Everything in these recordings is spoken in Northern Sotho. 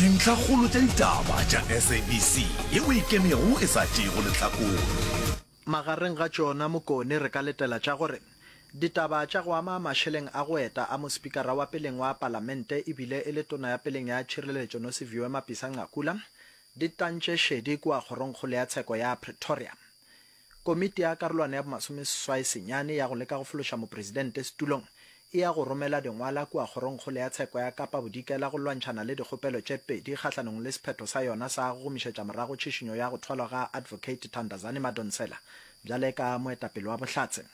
Dintlhakgolo tša ditaba tša SABC yeo e ikemego e sa tšeego lehlakore. Magareng ga tšona Mokone re ka letela tša gore ditaba tša go ama mašeleng a go eta a mospikara wa peleng wa palamente ebile e le tona ya peleng ya tšhireletšo Nosiviwe Mapisa-Nqakula di tantše šedi kua kgorongkgolo ya tsheko ya Pretoria. Komiti ya karolwana ya bomasomeseswai senyane ya go leka go fološa mopresidente setulong e ya go romela dingwala kua Kgorongkgolo ya Tsheko ya Kapa Bodikela go lwantšhana le dikgopelo tše pedi kgahlanong le sephetho sa yona sa go gomišetša morago tšhišinyo ya go thwalwa ga Advocate Thandazani Madonsela bjale ka moetapele wa bohlatse.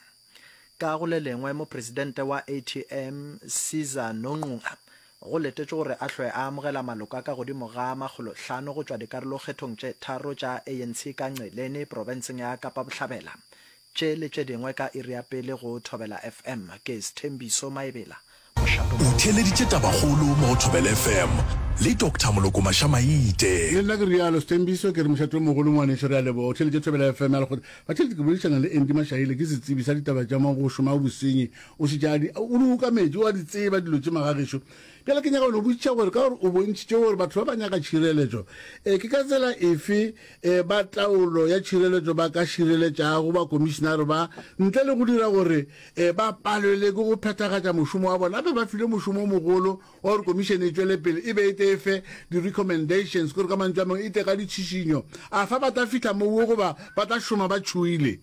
Ka go le lengwe, mopresidente wa ATM Caesar Nongqunga go letetšwe gore a hlwe a amogela maloko a ka godimo ga makgolohlano go tšwa dikarolokgethong tše tharo tša ANC ka Ngqeleni, profenseng ya Kapa Bohlabela. Tše le tše dingwe ka iri ya pele go Thobela FM. Ke Sthembiso Maebela, mošato O mogolo. theeleditše tabakgolo mo go Thobela FM le Doctor Moloko Mašamaite. Le nna ke realo, Sthembiso, ke re mošate o mogolo ngwaneso, re a leboga. O theeleditše Thobela FM ya lekgotla. Batheeletši, ke boledišana le Andy Mashaile, ke setsebi sa ditaba tša mo go šoma bosenyi. O šetše a di, o di okametše, o a di tseba dilo tše magagešo. Bjale ke nyaka go no botšiša gore ka gore o bontšhitše gore batho ba ba nyaka tšhireletšo, e ke ka tsela efe e ba taolo ya tšhireletšo ba ka šireletšago bakomišinare ba ntle le go dira gore e ba palelwe ke go phethagatša mošomo wa bona? Gape ba filwe mošomo o mogolo wa gore komišene e tšwele pele e be e tle e fe di-recommendations, kore ka mantšu a mangwe e tle ka ditšhišinyo. Afa ba tla fihla moo goba ba tla šoma ba tšhoile?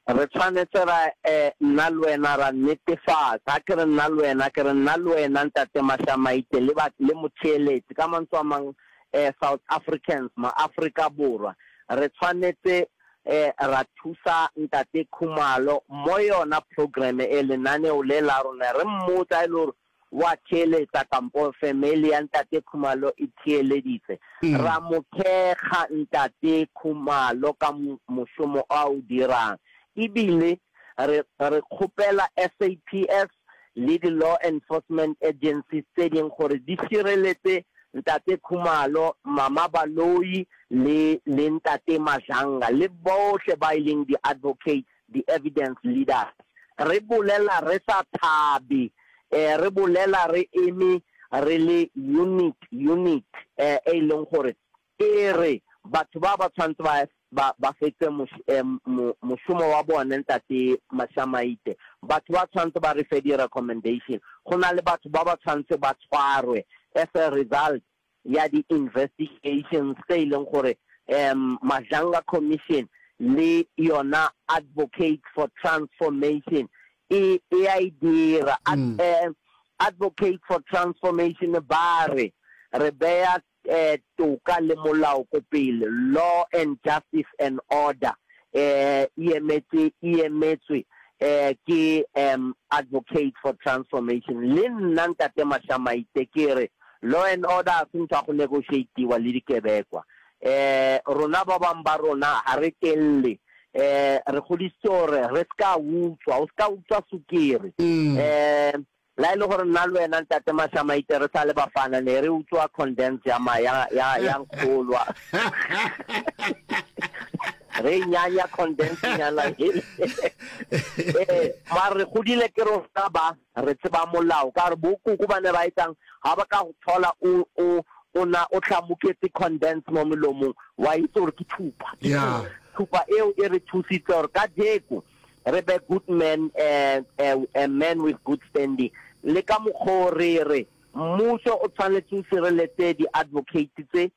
Re tshwanetse ra, eh, nna le wena ra netefatsa, ha ke re nna le wena, ke re nna le wena Ntate Mashamaite le ba, le motheeletši, ka mantswe a mang, eh, South Africans, ma-Afrika Borwa, re tshwanetse, eh, ra thusa Ntate Khumalo mo yona programme e, lenaneo le la rona, re mmotsa ha e le hore Wa theeletsa kampo family ya Ntate Khumalo e theeleditse. Ra mo thekga Ntate Khumalo ka mošomo a o dirang. Ebile re re kgopela SAPS le di law enforcement agencies tse ding gore di šireletse Ntate Khumalo, Mama Baloyi le le Ntate Madlanga le bohle ba e leng di advocates di-evidence leaders. Re bolela re sa thabe, re bolela re eme re le unit, unit e e leng gore e re batho ba ba tshwanetse ba, ba, ba fetse mošomo wa bone, Ntate Mashamaite. Batho ba tshwanetse ba re fe di-recommendation. Go na le batho ba ba tshwanetse ba tshwarwe as a result ya di-investigations tse e leng gore um Madlanga Commission le yona Advocates for Transformation e e a e dira. Ad, mm. eh, Advocates for Transformation ba re re beya eh, toka le molao ko pele, law and justice and order eh, e emetse e emetswe eh, ke um Advocate for Transformation. Le nna Ntate Mashamaite ke re Law and order ga se ntho ya go negotiatiwa le dikebekwa. Eh, rona ba bang ba rona ga re telle. Eh, re godisitswe gore re se ka utswa, o se ka utswa sukiri. Eh, la e le gore nna le wena Ntate Mashamaite re sa le bafana ne re utswa condense ya ma ya ya ya nkgolwa. Re nyanya condense nyana hele. Eh, mara re godile ke rona ba. Re tseba molao ka gore bo koko ba ne ba etsang ga ba ka go thola o o o na o hlamuketse condense mo molomong wa itse gore ke thupa. Ke Yeah. thupa eo e re thusitse gore ka jeko re be good men eh, eh, eh, men with good standing. Le ka mokgwa o re re mmuso o tshwanetse o sireletse di-advocate tse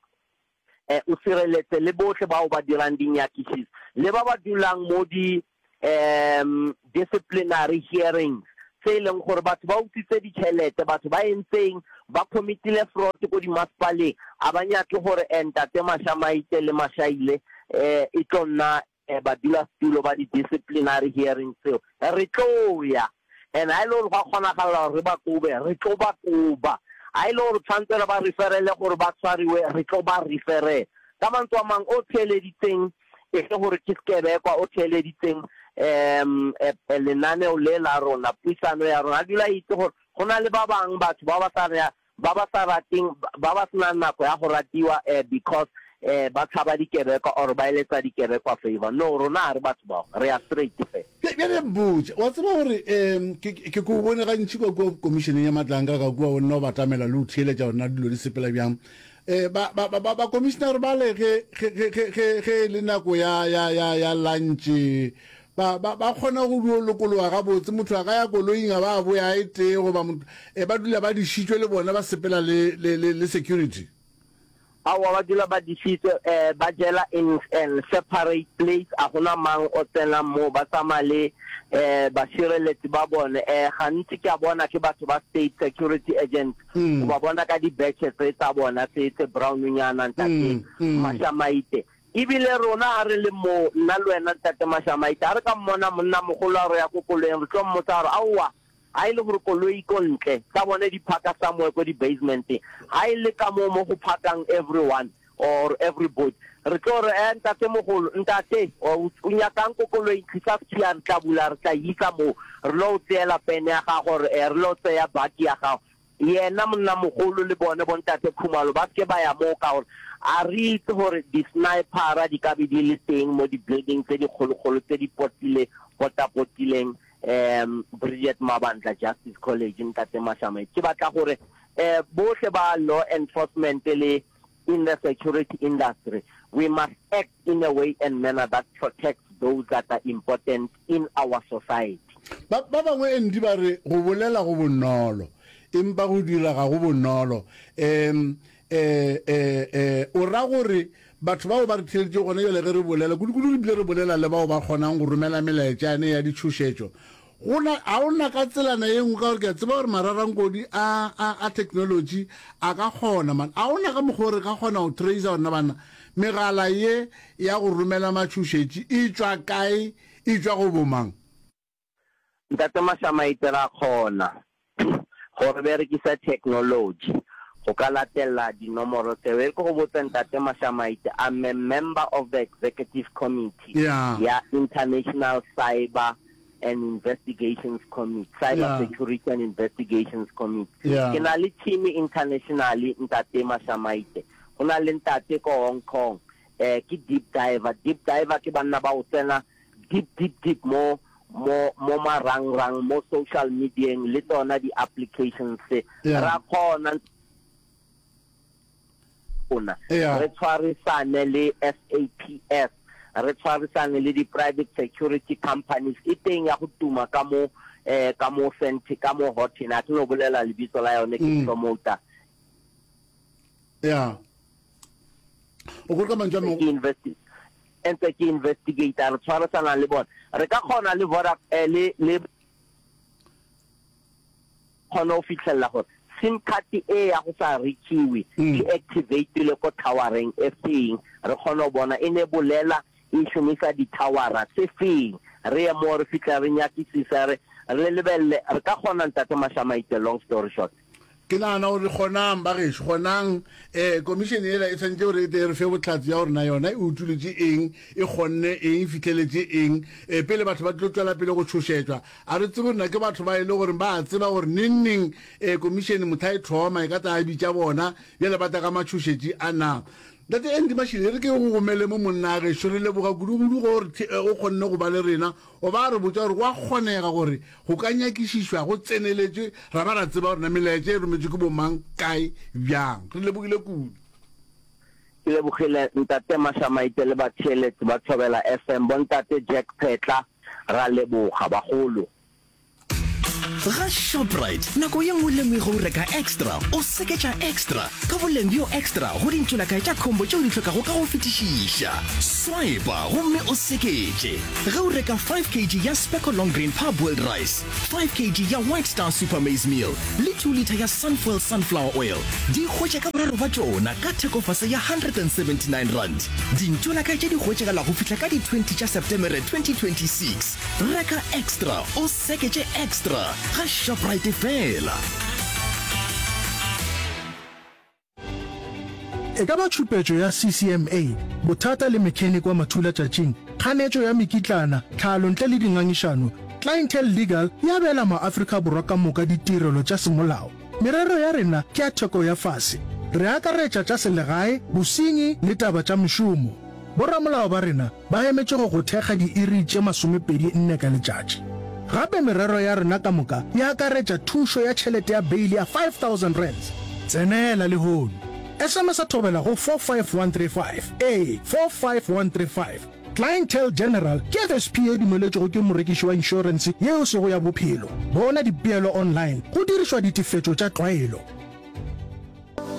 eh, o sireletse le bohle bao ba dirang dinyakišiso le ba ba dulang mo di um disciplinary hearings tse e leng gore batho ba utswitse ditšhelete, batho ba entseng, ba committile fraud ko dimasepaleng, a ba nyake gore eh, Ntate Mashamaite le Mashaile eh, e tlo nna eh, badulasetulo ba di-disciplinary hearings tseo. Re tlo ya. And ha e le gore gwa kgonagala gore re ba kobe, re tlo ba koba. Ha e le gore tshwanetse re ba referele gore ba tshwariwe, re tlo ba referela. Ka mantswe a mang, o theeleditseng e le gore ke sekebekwa, o theeleditseng um lenaneo le la rona, puisano ya rona, a dula a itse gore go na le ba bang batho ba ba sa ba ba sa rateng, ba ba senang nako ya go ratiwa because ba tshaba dikebekwa or ba eletsa dikebekwa favor. No, rona ga re batho bao, re ya straight fela. Bjale mpotše, wa tseba gore um ke, ke ko bone gantši kwa kua komišeneng ya matlanka ka kua o nna o batamela le o theeletša gore na dilo di sepela bjang. Um ba, ba, ba, ba, bakomišenare bale ge, ge, ge, ge, ge, ge e le nako ya, ya, ya, ya lantše, ba, ba, ba kgona go dio lokologa gabotse, motho a ka ya koloing a ba a boya a e tee goba motho, eh, ba dula ba dišitšwe le bona ba sepela le, le, le, le security. Aowa ba dula ba dišitšwe eh, ba jela in an separate place, a gona mang o tsenang moo, ba tsamaya le eh bašireletsi ba bone eh, gantsi ke a bona ke batho ba state security agents, o ba bona ka di badge tse tsa bona tse tse brown nyana ntate Mashamaite. Ebile rona ha re le moo, nna le wena ntate Mashamaite, ha re ka mmona monna mogolo a re ya ko koloing, re tlo mmotsa gore aowa Ha e le gore koloi ko ntle, tsa bone di phaka somewhere ko di basement-eng. Ha e le ka moo mo go phakang everyone or everybody, re tlo re, eh, ntate mogolo, ntate, o nyakang ko koloing, tlisa sekhiya, re tla bula, re tla e isa moo, re lo o tseela pene ya gago, or eh, re lo tseya baki ya gago. Yena monnamogolo le bone bontate Khumalo ba se ke ba ya moo ka gore a re itse gore di-sniper-ra di ka be di le teng mo di-building tse dikgolokgolo tse di potile, potapotileng um Bridget Mabandla Justice College, Ntate Mashamaite. Ke batla gore um bohle ba law enforcement le in the security industry, we must act in a way and manner that protects those that are important in our society. Ba ba bangwe Andy ba re go bolela go bonolo, empa go dira ga go bonolo. Um, eh, eh, eh, o ra gore batho bao ba re theeleditšego gona bjale ge re bolela, kudu-kudu re bile re bolela le bao ba kgonang go romela melaetša yane ya ditšhošetšo, Go na, ga o na ka tselana ye nngwe, ka gore ke a tseba gore mararankodi a, a, a technology a ka kgona, man. A o na ka mokgwa o re ka kgona go tracer gore na banna, megala ye ya go romela matšhošetši e tšwa kae, e tšwa go bomang? Ntate Mashamaite, ra kgona go re berekisa technology go ka latella dinomoro tseo. E re ke go botse Ntate Mashamaite, I'm a member of the executive committee Yeah. ya International Cyber and Investigations Committee, Cyber Yeah. Security and Investigations Committee. Yeah. Ke na le team internationally Ntate Mashamaite. Go na le ntate ko Hong Kong, eh ke deep diver. Deep diver ke banna ba go tsena deep deep deep mo mo mo marangrang mo social medieng le tsona di applications tse Yeah. ra kgona rona Yeah. re tshwarisane le SAPS re tshwarisane le di private security companies e teng ya go tuma ka mo eh ka mo Sente ka mo Houghton a ke no bolela lebitso la yone ke Mm. promoter Yeah. O gore ka mantšu a ke mangwe investi ntse ke investigate re tshwarisana le bona re ka kgona le Voda eh, le le kgona go fitlhelela gore sim card e ya go sa rekiwe e activatile ko towereng e feng re kgone go bona e ne bolela e šomisa di-towera tse feng re ye mo re fitlha re nyakisisa re re lebelele re ka kgona ntate Mashamaite long story short Ke nagana gore kgonang, bagešo, kgonang. Eh, komišene yela e swanetše gore e tle e re fe bohlatse bja gore na yona e utolotše eng, e kgonne eng, e fihleletše eng, eh, pele batho ba tlo tšwela pele go tšhošetšwa. A re tsebe gore na ke batho ba e le gore ba a tseba gore neng neng, eh, komišene mohla e thoma e ka tla bitša bona, bjale ba tla ka matšhošetši a na. Ntate Andy Mashile, e re ke go gomele mo monna gešo, re leboga kudu-kudu go re o kgonne go ba le rena. O ba re botša gore go a kgonega gore go ka nyakišišwa go tseneletšwe ra ba ra tseba gore na melaetša e rometšwe ke bomang, kae, bjang. Re lebogile kudu. Ke lebogile Ntate Mashamaite le batheeletsi ba Thobela FM, Bontate Jack Phetla, ra leboga bagolo. Ga Shoprite, nako ye nngwe le nngwe ge o reka extra, o seketša extra ka boleng bjo extra go dintšolakae tša combo tšeo di hlokago ka go fetišiša. Swipa gomme o seketše ge o reka 5 kg ya Specco Long Grain Parboiled Rice, 5 kg ya White Star Super Maize Meal le 2 litha ya Sunfoil Sunflower Oil. Di hwetše ka boraro ba tšona ka thekofase ya R179. Dintšolakae tše di hwetšagala go fihla ka di 20 tša Septemere 2026. Reka extra o seketše extra ga Shoprite fela. E ka ba tšhupetšo ya CCMA, bothata le mechanic wa mathulatšatšing, kganetšo ya mekitlana, tlhalo ntle le dingangišano, Clientele Legal e abela maAfrika Borwa ka moka ditirelo tša semolao. Merero ya rena ke ya theko ya fase. Re akaretša tša selegae, bosenyi le taba tša mešomo. Boramolao ba rena ba emetše go go thekga diiri tše masomepedi nne ka letšatši. Gape merero ya rena ka moka e akaretša thušo ya tšhelete ya beili ya R5000. Tsenela lehono! SMS-a Thobela go 45135, ee, 45135. Clientele General ke FSP ye e dumeletšwego ke morekiši wa inšorense ye e sego ya bophelo. Bona dipeelo online go dirišwa ditefetšo tša tlwaelo.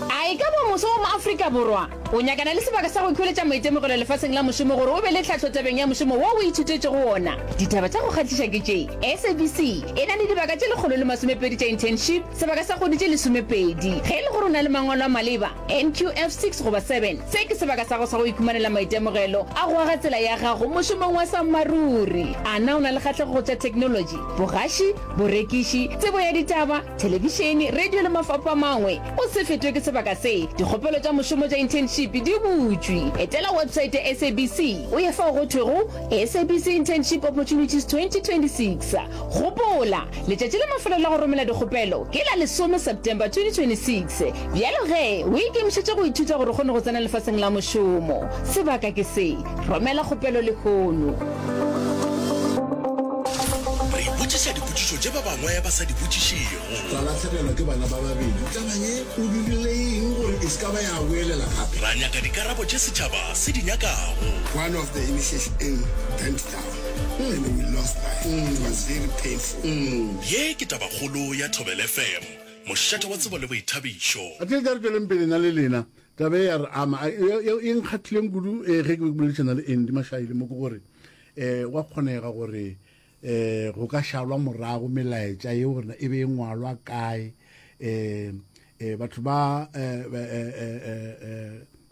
A e ka ba moso wa Moafrika Borwa o nyakana le sebaka sa go ikhweletša maitemogelo lefaseng la mošomo gore o be le tlhahlo tabeng ya mošomo wo o ithutetšego wona? Ditaba tša go kgahliša ke tše, SABC e na le dibaka tše 120 tša internship sebaka sa kgwedi tše lesomepedi. Ge e le gore o na le mangwalo a maleba, NQF 6 goba 7, se ke sebaka sa gago sa go ikhumanela maitemogelo a go aga tsela ya gago mošomong wa sammaruri. A na o na le kgahlego go tša theknolotši, bogaši, borekiši, tsebo ya ditaba, thelebišene, radio le mafapho a mangwe. O se fetwe ke sebaka se. Dikgopelo tša mošomo tša internship di butšwe. Etela websaete ya SABC o ye fao go thwego SABC Internship Opportunities 2026. Gopola, letšatši la mafelelo la go romela dikgopelo ke la lesome September 2026. Bjalo ge, o ikemišetše go ithuta gore o kgone go tsena lefaseng la mošomo. Sebaka ke se. Romela kgopelo lehono. Re botšiša dipotšišo tše ba bangwe ba sa di botšišego. Ra lahlegelwa ke bana ba babedi. Taba ye o dirile eng gore e se ka ba ya boelela gape? Ra nyaka dikarabo tše setšhaba se di nyakago. One of the initiation bent down and we lost life. It was very painful. Ye ke tabakgolo ya Thobela FM, mošate wa tsebo le boithabišo. A tše tša re tšweleng pele na le lena. Taba e ya re ama. E nkgathileng kudu ge ke be ke boledišana le Andy Mashaile mo ke gore um gwa kgonega gore um go ka šalwa morago melaetša yeo gore e be e ngwalwa kae um um batho ba um ba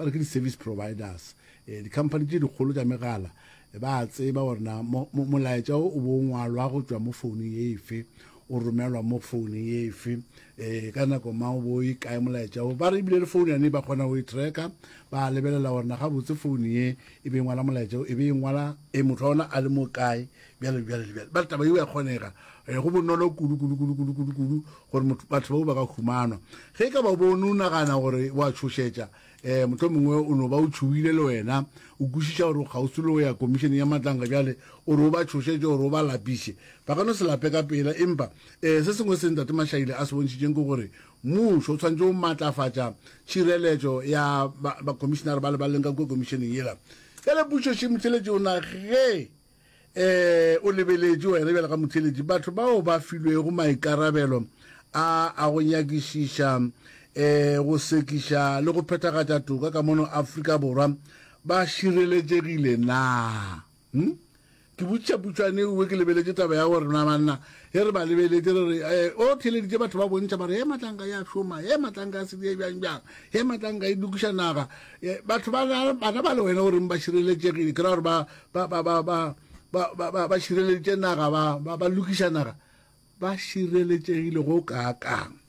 re ke di-service providers um di-company tše dikgolo tša megala ba a tseba gore na molaetša o o bo ngwalwa go tšwa mo founung ye efe o romelwa mo founung ye efe um ka nako mang o bo e kae molaetša o ba re ebile le founu yane ba kgona go e tracker ba lebelela gore na gabotse founu ye e be e ngwala molaetša o e be e ngwala e motho wa ona a le mo kae bjale bjale le bjale ba re taba yeo ya kgonega um go bonolo kudu kudu kudu kudu kudu kudu gore batho bao ba ka humanwa ge e ka ba bone o nagana gore wa tšhošetša um motlho mongwe o no ba o tšhoile le wena o kwešiša gore o kgauswi le go ya komišene ya matlanka bjale o re o ba tšhošetše gore o ba lapiše ba ka no se lape ka pela empa um se sengwe se ntate Mashaile a se bontšhitšeng ke gore mmušo o tshwanetse o maatlafatša tšhireletšo ya bakomišenare ba le ba leng ka kua komišeneng yela bjale pušo še motheletši o na ge um o lebeletše wena bjale ga motheletši batho bao ba filwego maikarabelo a a go nyakišiša um go sekiša le go phethagatša toka ka mono Afrika Borwa ba šireletšegile na hmm? Ke botšiša putšwane ewe ke lebeletše taba ya gore na banna ge re ba lebeletše re re eh, o theleditše batho ba bontšha ba re he matlanka ya šoma he matlanka ya sedie bjang bjang he matlanka e lokiša naga eh, batho ba bana ba le wena o reng ba šireletšegile ke ra gore ba ba ba ba ba ba ba ba ba šireleditše naga ba ba ba lokiša naga ba šireletšegile go kaakang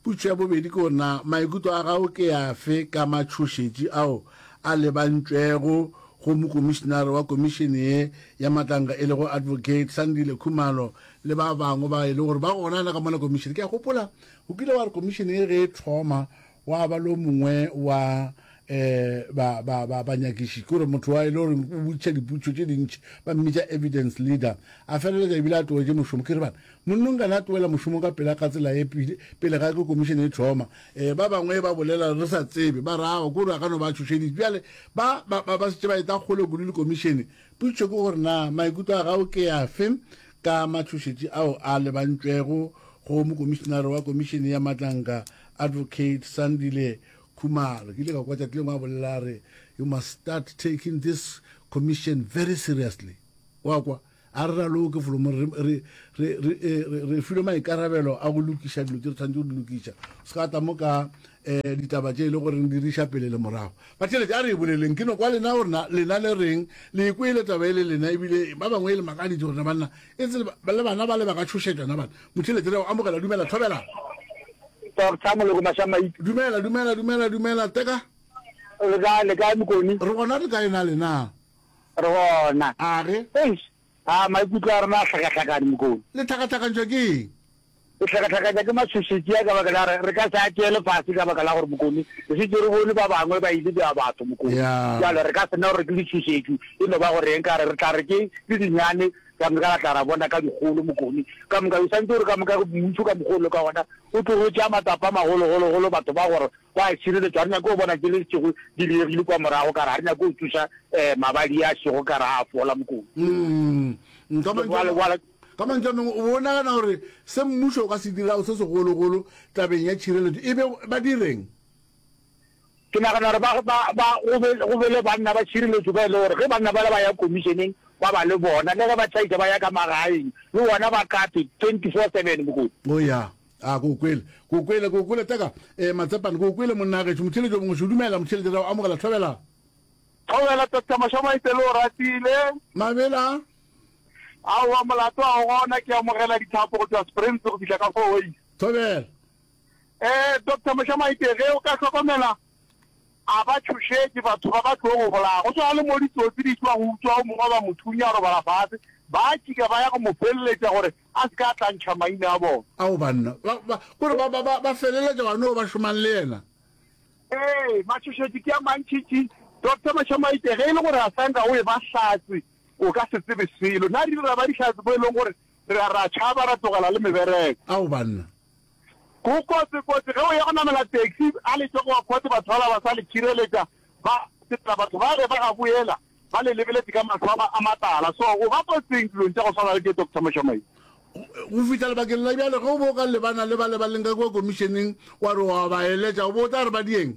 Potšišo ya bobedi ke gore na maikutlo a gago ke afe ka matšhošetši ao a lebantšwego go mokomišenare wa komišene ye ya matlanka e lego Advocate Sandile Khumalo le ba bangwe ba e le gore ba gona le ka mola komišene. Ke a gopola o kile wa re komišene ye ge e thoma wa ba le o mongwe wa um ba ba ba banyakiši ke gore motho wa e le gore o botšiša dipotšišo tše dintši ba mmitša evidence leader a feleletša ebile a tlogetše mošomo ke re bana monnong kana a tloela mošomo ka pela ka tsela e pele ga ke komišene e thoma um ba bangwe ba bolela re sa tsebe ba rago ke gore a ka no ba tšhošeditše bjale ba ba ba setse ba eta kgole kudu le komišene potšišo ke gore na maikutlo a gago ke afe ka matšhošetši ao a lebantšwego go mokomišenare wa komišene ya matlanka advocate Sandile Khumalo. Ke ile ka kwa tšatši lengwe a bolela a re, You must start taking this commission very seriously. Wa kwa? A re raloke folomo re, re, re, re, eh, re, re filwe maikarabelo a go lokiša dilo tše re tshwanetse go di lokiša. Se ka tla mo ka eh, ditaba tše e le gore di riša pele le morago. Batheeletši, a re e boleleng. Ke no kwa lena gore na lena le reng. Le e kwele taba e le lena ebile ba bangwe e le makaditše gore na banna e tse le bana ba le ba ka tšhošetšwa na bana. Motheeletši re a o amogela. Dumela, thobela. Doctor Moloko Mashamaite. Dumela, dumela, dumela, dumela, Teka. Le kae, le kae Mokoni? Re gona re kae na lena? Re gona. A ge? Eish, a maikutlo a rena a hlakahlakane Mokoni. Le hlakahlakantšwa ke eng? Ke hlakahlakanya ke matšhošetši a ka baka la gore re ka se a tšeele fase ka baka la gore Mokone re šetše re bone ba bangwe ba ile bja batho Mokone. Bjale re ka se no re ke ditšhošetši e no ba gore eng ka re re tla re ke ke dinyane ka moka ra tla ra bona ka dikgolo Mokone. Ka moka o santse o re ka moka mmušo ka mokgwa o le ka gona o tlogo tšea matsapa a magologologolo batho ba gore ba a šireletšwa ga re nyake go bona tše le šego di diregile kwa morago ka re ga re nyake go tsoša um mabadi a šego ka re a fola Mokone. Bjale Ka mantšu a mangwe, o be o nagana gore se mmušo o ka se dirago se segologolo tabeng ya tšhireletšo e be ba dire'ng? Ke nagana gore ba, ba, ba, go be, go be le banna ba tšhireletšo ba e le gore ge banna bale ba ya komišeneng ba ba le bona, le ge ba tšhaisa ba ya ka magaeng, le bona ba kate 24-seven, Mokoti. O ya. A, ke o kwele. Ke o kwele, ke o kwele, Teka. Eh, Matsepane, ke o kwele, monna gešo. Motheeletši o mongwe, šo, dumela, motheeletši, re a o amogela. Thobela. Thobela, Doctor Mashamaite, le o ratile. Mabela. Aowa, molato ga o gona, ke amogela dithapo go tšwa Springs go fihla ka Fourways. Thobela. Eh, Doctor Mošamaite, ge o ka hlokomela, a ba tšhošetše batho ba ba tlo go bolaya. Go swana le mo ditsotsi di tšwa go utswa o mongwe ba mo thunya a robala fase, ba tšika ba ya go mo feleletša gore a se ka a tla ntšha maina a bona. Ao banna, ba, ba, kore ba, ba, ba, ba feleletša gona o ba šomang le yena. Ee, matšhošetši ke a mantšintši. Doctor Mošamaite, ge e le gore a sa nka o e ba hlatse, O ka se tsebe selo. Na re ile ra ba dihlatse mo e leng gore re a ra tšhaba ra tlogela le mebereko? Ao banna. Go kotsi kotsi ge o ya go namela taxi a le tšwa go court batho bala ba sa le tšhireletša ba sepela batho ba ge ba ga boela ba le lebeletše ka mahlo a a matala so o ba kotsing dilong tša go swana le tše Doctor Mošomai. Go fihla lebakeng la bjale ge o be o ka lebana le bale ba leng ka kua komišeneng wa re wa ba eletša o be o tla re ba dieng?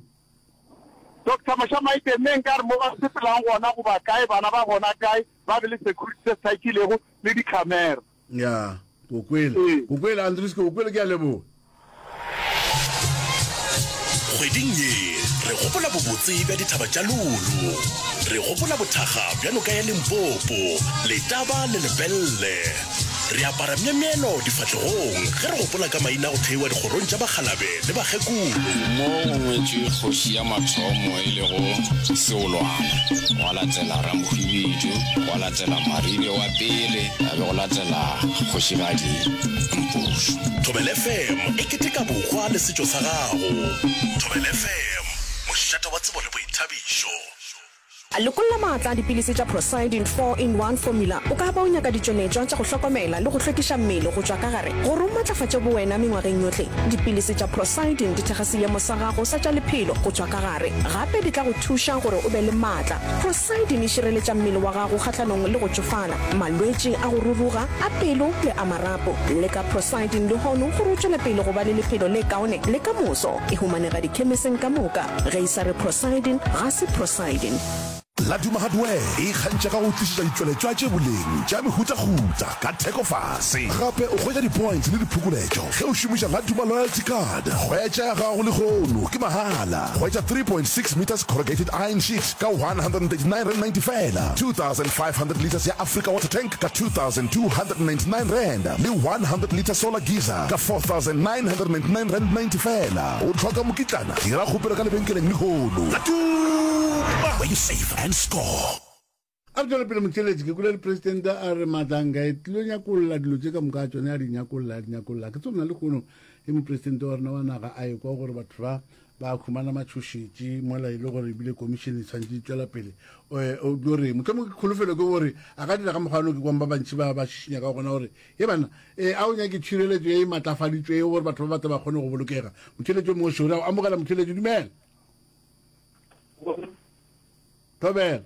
Doctor Moshamaite, Mme nkare mo ba sepelang gona goba kae bana ba gona kae ba be le security se se hlakilego le di camera. Ya, ke o kwele. Ke o kwele Andries, ke o kwele, ke a leboga. Kgweding ye re gopola bobotse bja dithaba tša Lulu. Re gopola bothakga bja noka ya Limpopo, Letaba le Lepelle. Re apara myemyelo difahlegong ge re gopola ka maina a go theiwa dikgorong tša bakgalabe le bakgekolo. Mo go ngwetšwe kgoši ya mathomo e lego Seolwana, gwa latela Ramohwibidu, gwa latela Maribe wa pele, ya be go latela Kgošigadi Mpušo. Thobela FM e keteka bohwa le setšo sa gago. Thobela FM, mošate wa tsebo le boithabišo. Lokolla maatla a dipilisi tša Procyldin 4-in-1 Formula. O ka ba o nyaka ditšweletšwa tša go hlokomela le go hlwekiša mmele go tšwa ka gare gore o matlafatše bowena mengwageng yohle. Dipilisi tša Procyldin di thekga seemo sa gago sa tša lephelo go tšwa ka gare. Gape di tla go thuša gore o be le maatla. Procyldin e šireletša mmele wa gago kgahlanong le go tšofala, malwetši a go ruruga, a pelo le a marapo. Leka Procyldin lehono gore o tšwele pele go ba le lephelo le kaone le ka moso. E humanega dikhemiseng ka moka. Ge e sa re Procyldin, ga se Procyldin. Laduma Hardware e ikgantšha ka go tlišetša ditšweletšwa tše boleng tša mehutahuta ka theko fase. Gape o hwetša di-points le diphokoletšo ge o šomiša Laduma Loyalty Card. Hwetša ya gago lehono ke mahala. Hwetša 3.6 metres corrugated iron sheet ka R139.90 feela, 2500 litres ya Africa water tank ka R2299 le 100 litre solar geyser ka R4999.90 feela. O hloka mokitlana? Dira kgopelo ka lebenkeleng lehono. Laduma, where you save and score. A re tšwele pele motheeletši, ke kwele le presidente a re Matlanga e tlilo nyakolla dilo tše ka moka ga tšone, a di nyakolla, a di nyakolla. Ke tsebe na lehono ge mopresidente wa rena wa naga a ekwa gore batho ba ba humana matšhošetši mola e le gore ebile komišene e tshwanetše e tšwela pele, o tlo reng? Mohlomongwe ke kholofelo ke gore a ka dira ka mokgwa ono ke kwang ba bantši ba ba šišinya ka gona gore Ye banna, ee, a o nyake tšhireletšo ye e matlafaditšwego gore batho ba ba tle ba kgone go bolokega? Motheeletši yo mongwe šore a o amogela motheeletši, dumela. Thobela.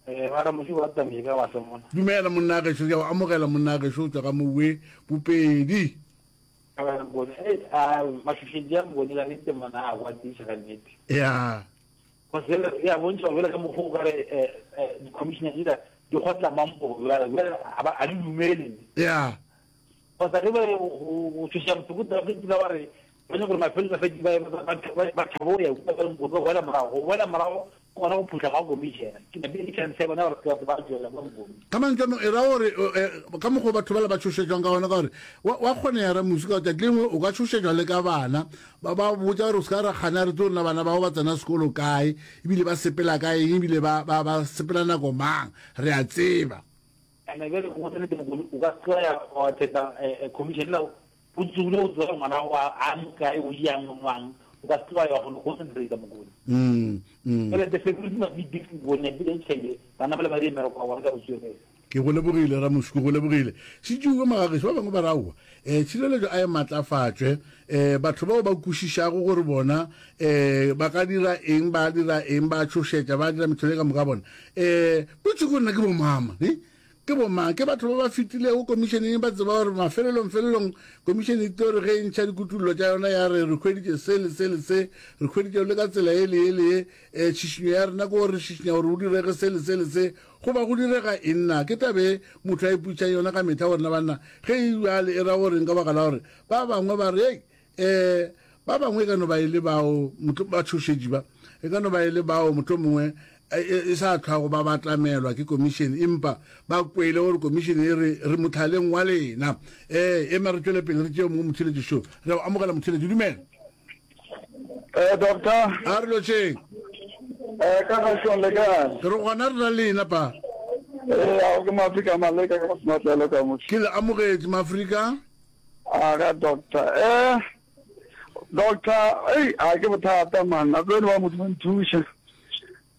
Eh, ba ramoši ba tsamile ka batho mona. Dumela monna gešo, ke a o amogela monna gešo o tšwa ka mowe Bopedi. Eh, mašošetši a mokone ka nnete mona a kwatiša ka nnete. Ya. Cause bjale ya bontšha bjale ka mokgwa o kare eh, eh, di-commissioner dila di kgotla mampo bjale bjale a ba- a di dumele ya cause ge ba go go tšhoša motho go tla ke ba re ba nyaka gore mafelelo a fetše ba ba- ba- ba- ba tšhabo go ya kua ba go go boela morago go boela morago ke gona go phuhla ga commissioner ke napile ke chance ya bona gore batho ba tšwela ba mokone ka mantšu a mangwe e ra gore eh, ka mokgwa o batho bala ba tšhošetšwang ka gona ka gore wa wa kgonega ramusi ka tšatši lengwe o ka tšhošetšwa le ka bana Ba ba botša gore o se ka ra kgana re tlo rena bana bao ba tsena sekolo kae, ebile ba sepela ka eng, ebile ba, ba, ba sepela nako mang. Re a tseba. Ene bjale go nnete mokone o ka se ya wa thetha commission la O tsogile o tseba ngwana wa a mo kae o jang o nwang o ka se wa ya go concentrate mokone. Mm, mm. Jale the security must be big mokone ya bile tšhele bana ba le ba dire mmereko wa bona ka botswerere. Ke go lebogile Ramoši, ke go lebogile. Šitšuwe magagešu ba bangwe ba re aowa, um tšhireletšo a e matlafatšwe, um batho bao ba kwešišago gore bona um ba ka dira eng, ba dira eng, ba tšhošetša, ba dira mehlolo e ka moka bona. Um potšišo ke gore na ke bomama, ne? Ke bomang? Ke batho ba ba fetilego komišeneng ba tseba gore mafelelong felelong komišene e tlo re ge e ntšha dikutullo tša yona ya re re hweditše se le se le se, re hweditše le ka tsela ye le ye le ye, um tšhišinyo ya rena ke gore re šišinya gore go direge se le se le se. Goba go direga eng na? Ke taba e motho a ipotšišang yona ka mehla gore na banna ge e bjale e ra goreng ka baka la gore ba bangwe ba re hei um ba bangwe e ka no ba e le bao batšhošetši ba e ka no ba e le bao mohlomongwe e, e, e sa tlhwago ba batlamelwa ke komišene empa ba kwele gore komišene e re re motlhaleng wa lena um ema re tšwele pele re tšee mongwe motheletši šo re o amogela motheletši dumela Eh, doctor. A re lotšheng. Eh, ka gašong le kae? Re gona re na lena pa. Eh, ao ke Maafrika Maleka ka Sematlelo ka mo. Ke le amogetše Maafrika. A ga doctor. Eh, doctor, ei, a ke bothata man. A tsene ba modimo nthuše.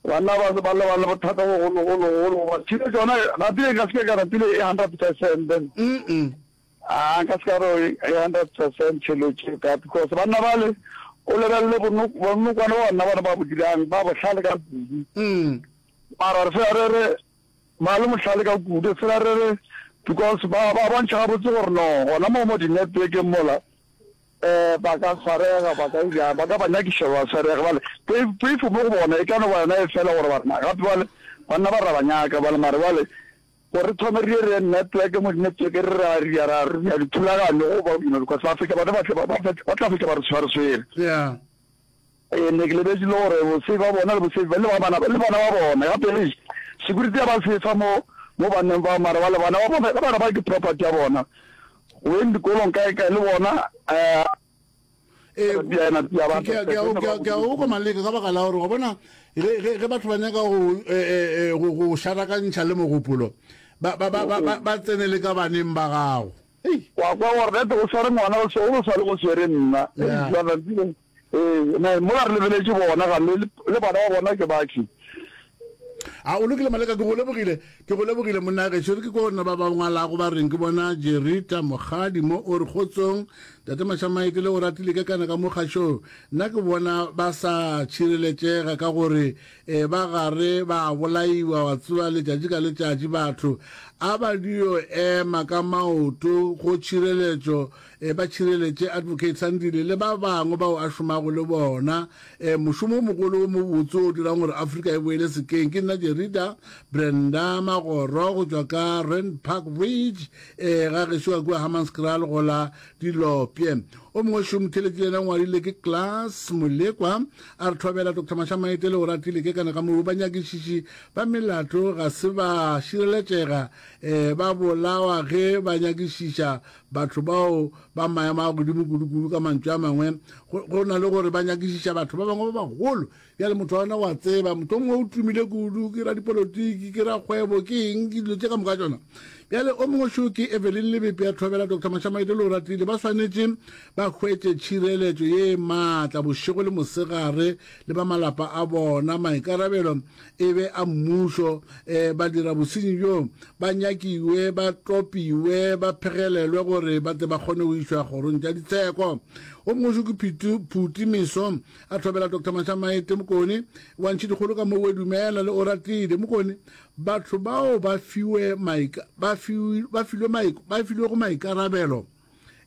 Banna ba ba le ba le bothata bo golo golo golo. Ba thile tsona rapile ka se ka rapile 100%. Mm. -mm. A nka se ka re e 100% tšhelotše ka because banna bale o lebelele bonokwane ba banna bana ba bo dirang ba bohlale ka kudu. Mm. Mara re fela re re ba le mohlale ka kudu fela re re because ba ba bontšha gabotse gore no gona mo mo di-networkeng mola um ba ka swarega ba ka ira ba ka ba nyakiša ba swarega bale poifo mo go bona e ka no ba yona e fela gore banna gape bale banna ba ra ba nyaka bale mare bale Gore re thome re ye re ye network mo di-network re ra re ya ra re ya dithulaganyo go ba you know because ba fetša bana ba tle ba ba tla fetša ba re tshware swere. Yeah. Ee, ne ke lebetše le gore bosefi ba bona le bosefi le ba bana le bana ba bona gape le security ya ba sefa mo mo banneng ba mara ba le bana ba bona bana ba ke property ya bona go yeng dikolong kae kae le bona eh Ee, ke a go kwa Maleka ka baka la gore wa bona ge batho ba nyaka go go šarakantšha le mogopolo ba ba ba ba ba tsene le ka baneng ba gago. Wa kwa gore nete o sware ngwana o o sa le go swere nna. Ee, mola re lebeletše bona ga le le bana ba bona ke bakhi. A o lokile Maleka, ke go lebogile, ke go lebogile monna gešo. Re ke ko nna ba ba ngwalago ba reng ke bona Jerita Mokgadi mo o re kgotsong Tate Mashamaite le o ratile ke kana ka mo kgašong. Nna ke bona ba sa tšhireletšega ka gore eh, ba gare ba bolaiwa wa tseba letšatši ka letšatši batho a ba dio ema ka maoto go tšhireletšo eh, ba tšhireletše Advocate Sandile le ba bangwe bao a šomago le bona E, mošomo o mogolo wo mobotse o dirang gore Afrika e boele sekeng. Ke nna Jerida Brenda Magoro go tšwa ka Rand Park Ridge, e, ga gešo ka kua Hammanskraal go la Dilopye. O mongwe šo motheletši le yena o ngwadile ke Klaas Molekwa, a re thobela Doctor Mashamaite le o ratile ke kana ka moo banyakišiši ba melato ga se ba šireletšega, e, ba bolawa ge ba nyakišiša batho bao ba maemo a godimo kudu-kudu. Ka mantšu a mangwe, go, go na le gore ba nyakišiša batho ba bangwe ba bagolo. Bjale motho wa gona wa tseba, motho o mongwe o tumile kudu, ke radipolotiki, ke rakgwebo, ke eng, ke dilo tše ka moka tšona. Bjale o mongwe šo ke Evelyn Lebepe ya Thobela, Doctor Mashamaite le o ratile, ba swanetše ba hwetše tšhireletšo ye maatla bošego le mosegare le ba malapa a bona. Maikarabelo e be a mmušo, um badira bosenyi bjo ba nyakiwe, ba topiwe, ba phegelelwe gore ba tle ba kgone go išwa kgorong tša ditsheko. O mongwe šo ke Phuti, Phuti Meso, a thobela Doctor Mashamaete Mokone, wa Ntšhidikgolo ka mo Dumela le Oratile Mokone. Batho bao ba fiwe maika, ba fiwe, ba filwe maik, ba filwego maikarabelo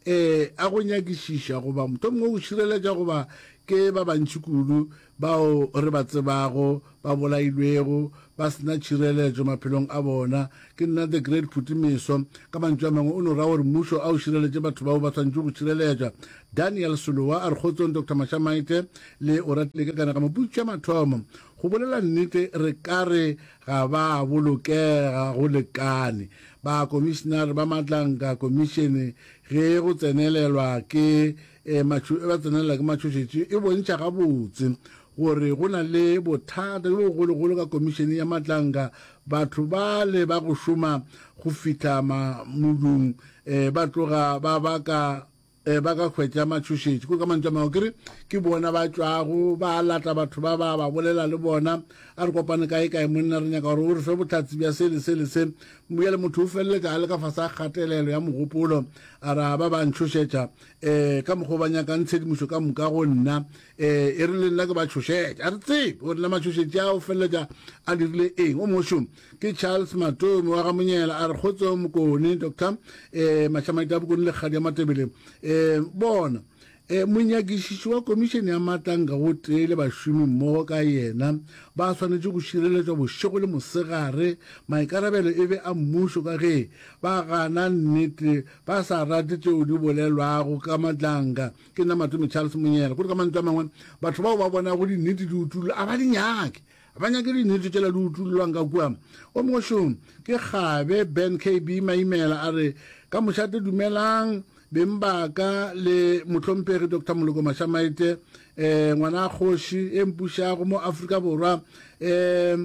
um a go nyakišiša goba mohlomongwe go šireletša goba ke ba bantši kudu bao re ba tsebago ba bolailwego ba se na tšhireletšo maphelong a bona. Ke nna The Great Phuti Meso. Ka mantšu a mangwe o no ra gore mmušo a o šireletše batho bao ba swanetše go šireletšwa. Daniel Solowa a re kgotsong Doctor Mashamaite le Oratile ke kana ka moputso ya mathomo. Go bolela nnete re ka re ga ba bolokega go lekane. Bakomišenare ba Matlanka Komišene ge go tsenelelwa ke e, ba tsenelela ke matšhošetši e bontšha gabotse gore go na le bothata bjo bogologolo ka komišene ya Matlanka. Batho bale ba go šoma go fihla modung e, ba tloga ba baka. um ba ka hwetša matšhošetši. Kore ka mantšu a mangwe ke re ke bona ba tšwago ba lata batho ba ba ba bolela le bona, a re kopane kae kae monna re nyaka gore o re fe bohlatse bja se le se le se. Bjale motho o feleletša a le ka fase ga kgatelelo ya mogopolo, a re a ba ba ntšhošetša um ka mokgwa o ba nyakang tshedimošo ka moka go nna, um e re le nna ke ba tšhošetše. A re tsebe gore na matšhošetši a o feleletša a dirile eng. O mongwe šo Ke Charles Matome wa ga Monyela a re kgotso Mokone Doctor eh Mašamaite a Bokone le Kgadi ya Matebele eh bona eh monyakišiši wa komišene ya Matlanka gotee le bašomi mmogo ka yena ba swanetše go šireletšwa bošego le mosegare maikarabelo e be a mmušo ka ge ba gana nnete ba sa rate tšeo di bolelwago ka Matlanka ke nna Matome Charles Monyela kore ka mantšu a mangwe batho bao ba bonago dinnete di utullwa a ba di nyake Ba nyake dinnete tšela di utullwang ka kua. O mongwe šo ke Kgabe Ben KB Maimela a re, Ka mošate dumelang beng ba ka le mohlomphegi Doctor Moloko Mashamaite, eh, ngwana kgoši e mpušago mo Afrika Borwa, eh,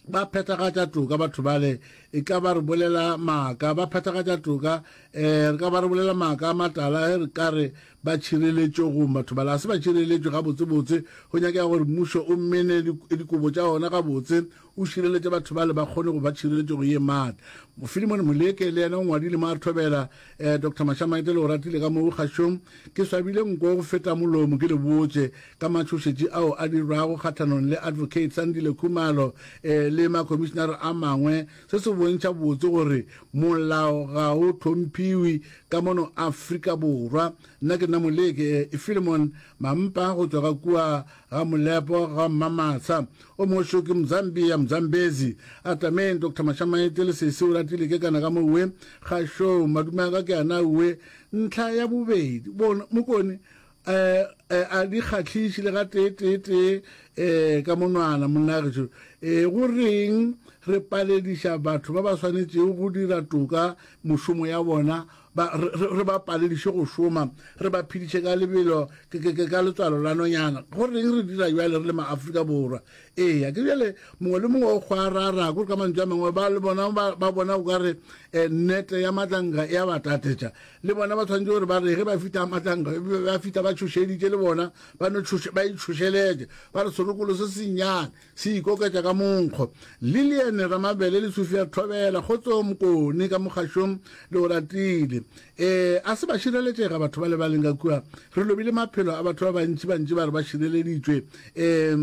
ba phethagatša toka batho bale e ka ba re bolela maaka ba phethagatša toka eh re ka ba re bolela maaka a matala ge re ka re Ba tšhireletšegong, batho bala ga se ba tšhireletšwe gabotsebotse. Go nyakega gore mmušo o mene dikobo tša ona gabotse, o šireletše batho bale ba kgone go ba tšhireletšego ye maatla. Philemon Moleke le yena o ngwadile mo a re thobela eh, Doctor Mashamaite le o ratile ka moo kgašong. Ke swabile nko go feta molomo ke le botše ka matšhošetši ao a dirwago kgahlanong le Advocate Sandile Khumalo eh, le makhomišinare a mangwe. Se se bontšha botse gore molao ga o hlomphiwe ka mono Afrika Borwa. Nna ke nna Moleke Philemon Mampa go tšwa ga kua ga Molepo ga Mmamatsha. O mongwe šo ke Mzambia Mzambezi. Atameng Doctor Mashamaite le sesi o ratile ke kana ka mowe ga šo madume a ka ke ana uwe. Ntlha ya bobedi bona Mokone eh, eh, a di kgahliše le ga tee tee tee eh, ka monwana monna gešo eh, go reng re palediša batho ba ba swanetšego go dira toka mošomo ya bona ba, re, re ba palediše go šoma re ba phediše ka lebelo ke, ke, ke, ka letswalo la nonyana go reng re dira bjale re le maafrika borwa eya ke bjale mongwe le mongwe o kgwarara kore ka mantšu a mangwe ba le bona ba, ba bona o ka re eh, nnete ya matlanka ya ba tatetša Le bona ba tshwanetše gore ba re ge ba fihla Matlanka, ba fihla ba tšhošeditše le bona, ba no tšhoše, ba itšhošeletše, ba re serokolo se sennyane se ikoketša ka monkgo. Lillian Ramabele le Sophia Thobela, Kgotso Mokone ka mokgašong le o ratile. E, a se ba šireletšega batho ba le ba leng ka kua. Re lobile maphelo a batho ba bantši, bantši ba re ba šireleditšwe. E,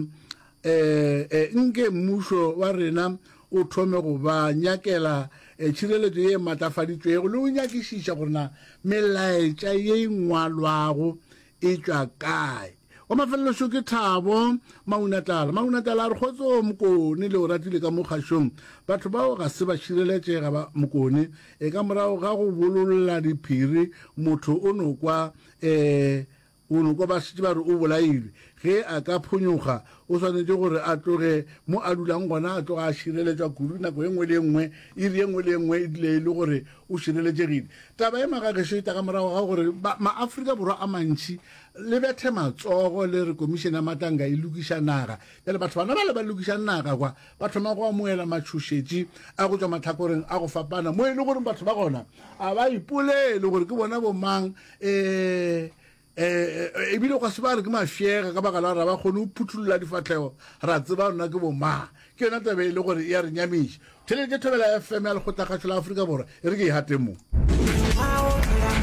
E, e, nke mmušo wa rena o thome go ba nyakela e, tšhireletšo ye e matlafaditšwego le go nyakišiša gore na melaetša ye e ngwalwago e tšwa kae. Wa mafelelo šo ke Thabo Maunatlala. Maunatlala a re kgotso Mokone le o ratile ka mo kgašong. Batho bao ga se ba šireletšega ba Mokone. E ka morago ga go bololla diphiri motho o no kwa e, O no kwa ba šetše ba re o bolailwe. Ge a ka phonyokga, o swanetše gore a tloge mo a dulang gona, a tloga a šireletšwa kudu nako e nngwe le e nngwe, iri e nngwe le e nngwe e dule e le gore o šireletšegile. Taba ye magagešo e tla ka morago ga gore Maafrika Borwa a mantši le bethe matsogo le re Komišene ya Matlanka e lokiša naga. Bjale batho bana bale ba lokišang naga kwa ba thoma go amohela matšhošetši a go tšwa mahlakoreng a go fapana mo e le gore batho ba gona a ba ipolele gore ke bona bomang um um ebile gwa se ba re ke mafšega ka baka la gore ga ba kgone go phuthulola difahlego ra tseba rona ke bomang. Ke yona taba e le gore e a re nyamiša. Theletše Thobela FM ya Lekgotlakgašo la Afrika Borwa e re ke e gate mo.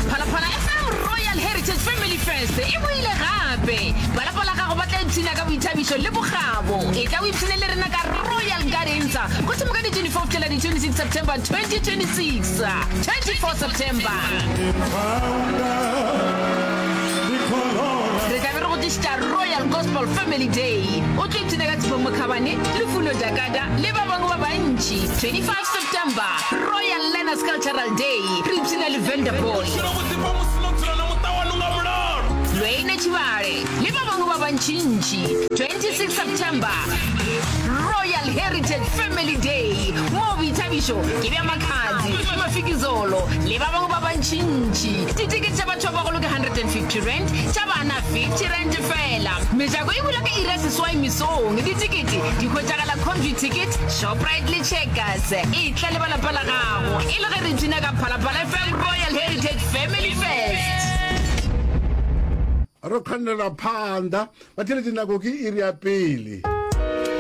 Phalaphala FM Royal Heritage Family Fest e boile gape! Ba lapa la gago ba tla ipshina ka boithabišo le bokgabo. Etla o ipshine le rena ka Royal Gardens go thoma ka di 24 go fihlela di 26 September 2026. 24 September. Re tla be re go tlišetša Royal Gospel Family Day. O tlo ipshina ka Tshepo Mokhabane, Lufuno Dakada le ba bangwe ba bantši. 25 September, Royal Learners Cultural Day. Re ipshina le Vanderpool. Lwene Tshivhale le ba bangwe ba bantšintši. 26 September, Royal Heritage Family Day, moo boithabišo ke bja Makhadzi, Mafikizolo le ba bangwe ba bantšintši. Ditekete tša batho ba bagolo ke R150, tša bana R50 feela. Mejako e bula ka iri ya seswai mesong. Ditekete di hwetšagala Computicket, Shoprite le Checkers. Etla le ba lapa la gago e le ge re ipshina ka Phalaphala FM Royal Heritage Family Fest. Re kgannela phanḓa. Batheeletši nako ke iri ya pele.